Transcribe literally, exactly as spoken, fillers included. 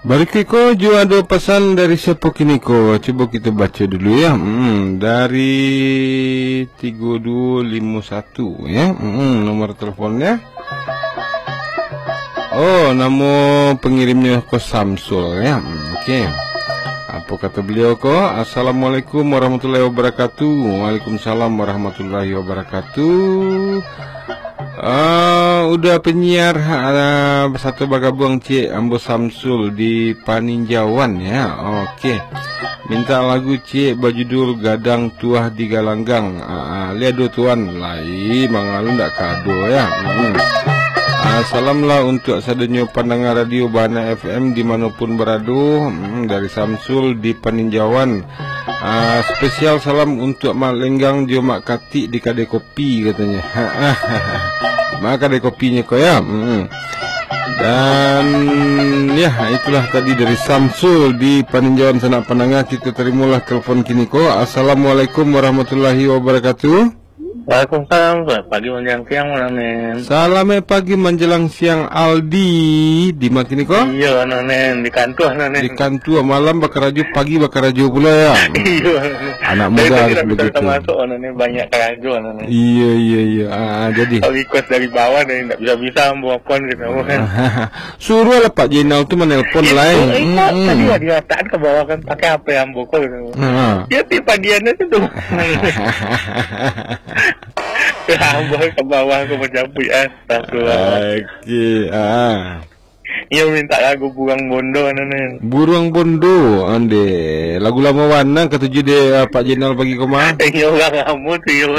Barikuik ko juo ado pasan dari siapo kini ko? Cubo kito baco dulu ya. Hmm, dari tigo duo limo satu ya. Hmm, nomor teleponnya. Oh, namo pengirimnya ko Samsul ya. Hmm, oke. Apo kato beliau ko? "Assalamualaikum warahmatullahi wabarakatuh." Waalaikumsalam warahmatullahi wabarakatuh. Ah, udah penyiar, ah, satu bagabuang, Cik, ambo Samsul di Paninjauan ya. Oke. Minta lagu, Cik, bajudul Gadang Tuah di Galanggang. Ah, ah, lihat do tuan, lai mangalu ndak kado ya. Hmm. Ah, salam lah untuk sadonyo pandanga radio Bahana F M di manopun barado. Hmm, dari Samsul di Paninjauan. Ah, spesial salam untuk Mak Lenggang jo Mak Katik di kadai kopi, katanya. Maka ada kopinya ko ya. Mm-mm. Dan ya, itulah tadi dari Samsul di Paninjauan Sanak Pandanga. Kita terimalah telepon kini ko. Assalamualaikum warahmatullahi wabarakatuh. Waalaikumsalam. Selamat pagi menjelang siang, Bang Nonen. Selamat pagi menjelang siang, Aldi. Di ma kini ko? Iya, Nonen, di kantua, Nonen. Di kantua, malam bakarajo, pagi bakarajo pula ya. Iya, Nonen. Anak muda harus begitu. Termasuk, Nonen, banyak karajo, Nonen. Iya, iya, iya. Ah, ah, jadi. Kalau request dari bawah, Nonen, ndak bisa-bisa ambo apo gitu. Suruahlah Pak Jenal tu menelpon lah, eh. Itu, itu, tadi lah dia letak ke bawah kan, pakai apa yang bokol gitu. Ha. Dia tiup padian aja tu. Ambo ke bawah, aku mencampur, astagfirullah. Oke, ah. Iyo minta lagu Buruang Bondo, Nonen. Buruang Bondo, ande. Lagu lamo bana katuju dek, ah, Pak Jenal pagi ko mah. Iyo, urang lamo tu, iyo.